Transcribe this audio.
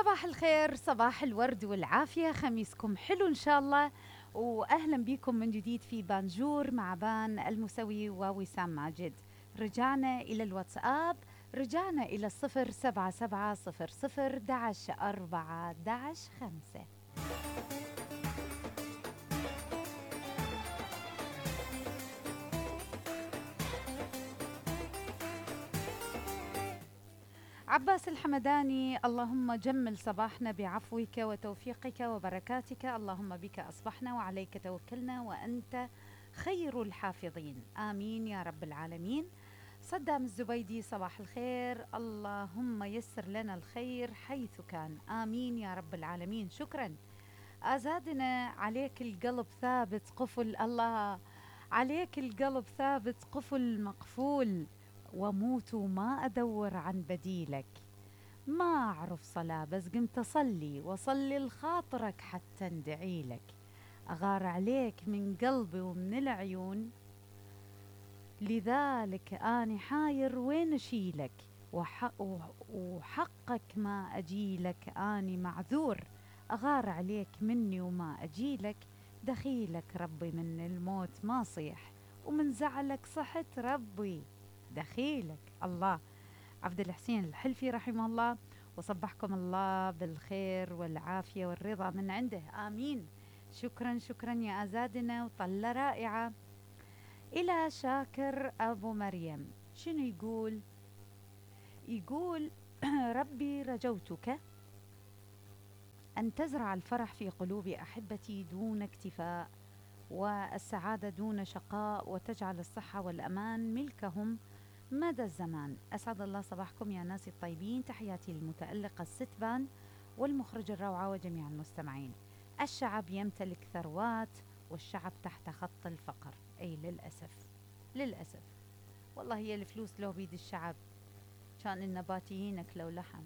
صباح الخير، صباح الورد والعافية، خميسكم حلو إن شاء الله. وأهلا بكم من جديد في بانجور مع بان المسوي ووسام ماجد. رجعنا إلى الواتساب، رجعنا إلى 077 00 11 4 11 5. عباس الحمداني: اللهم جمل صباحنا بعفوك وتوفيقك وبركاتك، اللهم بك أصبحنا وعليك توكلنا وأنت خير الحافظين، آمين يا رب العالمين. صدام الزبيدي: صباح الخير، اللهم يسر لنا الخير حيث كان، آمين يا رب العالمين. شكرا أزادنا. عليك القلب ثابت قفل، الله عليك القلب ثابت قفل مقفول، وموت وما أدور عن بديلك. ما أعرف صلاة بس قمت أصلي وأصلي لخاطرك حتى ندعي لك. أغار عليك من قلبي ومن العيون، لذلك أني حاير وين أشيلك، وحقك ما أجيلك أني معذور. أغار عليك مني وما أجيلك، دخيلك ربي من الموت ما صيح، ومن زعلك صحت ربي دخيلك. الله. عبد الحسين الحلفي رحمه الله، وصبحكم الله بالخير والعافية والرضا من عنده، آمين. شكرا شكرا يا أزادنا، وطلة رائعة. إلى شاكر أبو مريم، شنو يقول؟ يقول ربي رجوتك أن تزرع الفرح في قلوب أحبتي دون اكتفاء، والسعادة دون شقاء، وتجعل الصحة والأمان ملكهم مدى الزمان. أسعد الله صباحكم يا ناس الطيبين، تحياتي للمتألقة الستبان والمخرج الروعة وجميع المستمعين. الشعب يمتلك ثروات والشعب تحت خط الفقر. أي للأسف، للأسف والله هي الفلوس لو بيد الشعب كان النباتيين أكلوا لحم.